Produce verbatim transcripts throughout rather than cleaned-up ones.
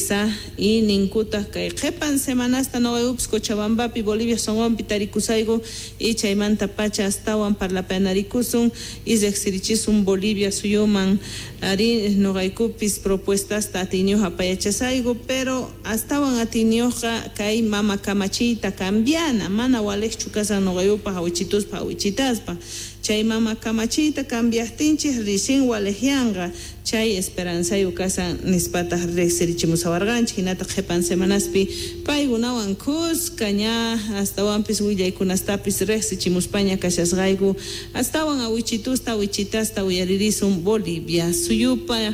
Mesa y ninkutaq kay qhipan semanasta nuqaykupis Cochabambapi Bolivia sunqunpi tarikusayku y chaymanta pacha astawan parlapanarikusun y riqsirichisun Bolivia suyuman ari nuqaykupis propuestasta atiyniyuq apayachasayku pero astawan atiyniyuqqa kay mama kamachiyta cambiana mana waliqchu kasan nuqayupaq awichituspa awichitaspa chay mama kamachiyta cambiaqtinchik ricin waliqyanqa chay esperanzayuq kasan nispataq riqsirichimusawarqanchik hinataq qhipan semanaspi paykunawan kuska ña astawanpis willaykunastapis riqsichimuspaña kashasqayku astawan awichitusta awichitasta uyaririsun Bolivia suyupa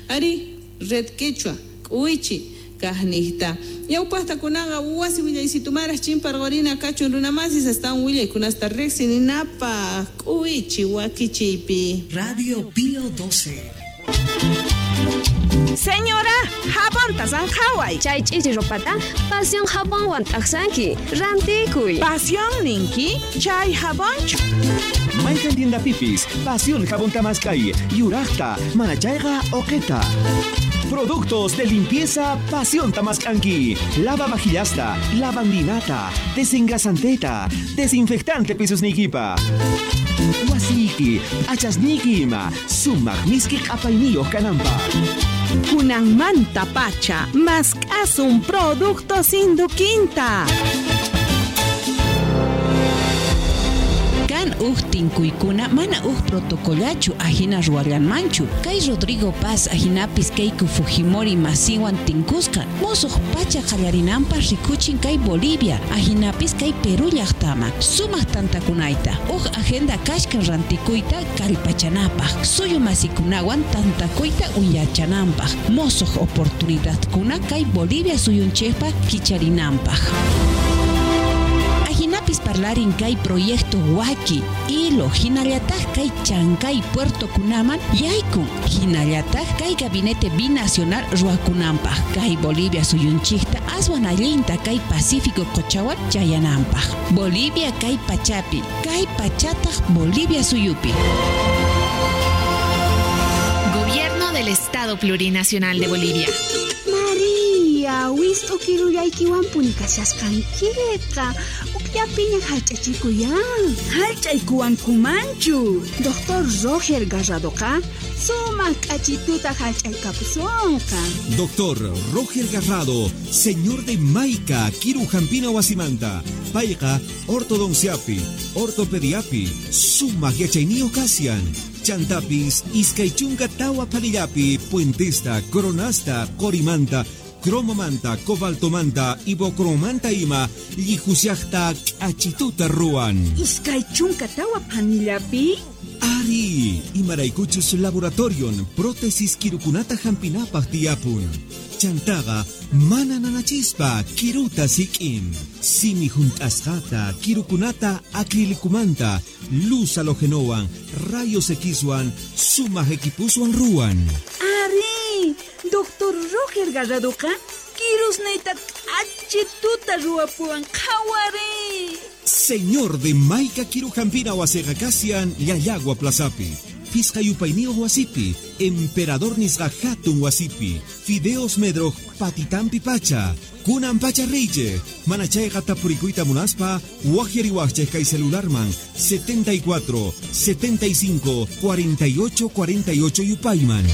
ari Red Quechua k'uwichi kaqniqta ñawpaqtakunaqa wasi willaysitumara chimparqurina kachun runamasis astawan willaykunasta riqsininapaq k'uwichi wakichiypi. Radio Pío doce. Señora, jabonta sanqhaway. Chay ch'ichi ropata Pasión jabonwan t'aqsanki. Rantikuy. Pasión ninki, chay jabonchu. Mayqan tiendapipis, Pasión jabón tamaskay, yuraqta, manachayqa uqita. Productos de limpieza Pasión Tamaskanki. Lava vajillasta, lavandinata, desengrasanteta, desinfectante pisusniykipa. Wasiyki, achasniyki ima, sumaq miski q'apayniyuq kananpaq. Kunanmanta pacha, mask'asun productos Induquinta. Kan uj tinkuykuna mana uj protocolachu ajina ruwallanmanchu. Kay Rodrigo Paz ajinapis Keiko Fujimori masiwan tinkusqa musuq pacha qallarinanpaq rikuchin kay Bolivia ajinapis kay Perú llaqtama sumaq tantakunayta uj agenda kashkan rantikuyta kallpachanapaq suyu masikunawan tantakuyta uyachananpaq musuq oportunidadkuna kay Bolivia suyunchikpa kicharinanpaq. Ajinapis parlarin kay proyecto Waki, Ilo, hinallataq kay Chancay Puerto kunaman yaykun, hinallataq kay gabinete binacional ruwakunanpaq, kay Bolivia suyunchikta aswan allinta kay Pacífico qochawan chayananpaq. Bolivia kay pachapi, kay pachataq Bolivia suyupi. Gobierno del Estado Plurinacional de Bolivia. María, wist'u kirullaykiwanpuni kashasqankiqa. Ukllapiña hallch'achikuyan. Hallch'aykuwankumanchu. Doctor Roger Garradoqa sumaq k'achituta hallch'aykapusunqa. Doctor Roger Garrado, señor de Maica, Kiru Hampina wasimanta. Payqa ortodonciapi, ortopediapi, sumaq yachayniyuq kashan. Chantapis, iskay chunka tawa panillapi, puentesta, coronasta, qorimanta, cromomanta, cobaltomanta, ibocromanta ima, llihusiaqta k'achituta ruwan. Iskay chunka tawa panillapi? Ari, imaraykuchus laboratorion, prótesis kirukunata hampinapaq tiyapun. Chantaqa mana nanachispa kiruta sik'in. Simi hunt'asqata, kirukunata acrilicumanta, luz halogenowan, rayos Xwan, sumaq equipuswan ruwan. Ari, doctor Roger Garradoqa kirusniyta k'achituta ruwapuwan qhawari. Señor de Maica Kiru Hampina wasiqa kashan Llallagua Plazapi. Fisqa yupayniyuq wasipi, Emperador nisqa hatun wasipi, Fideos Medroj patitampi pacha, kunan pacha riychej, mana chayqa tapurikuyta munaspa, waqyariwaqchej kay celularman setenta y cuatro, setenta y cinco, cuarenta y ocho, cuarenta y ocho yupayman.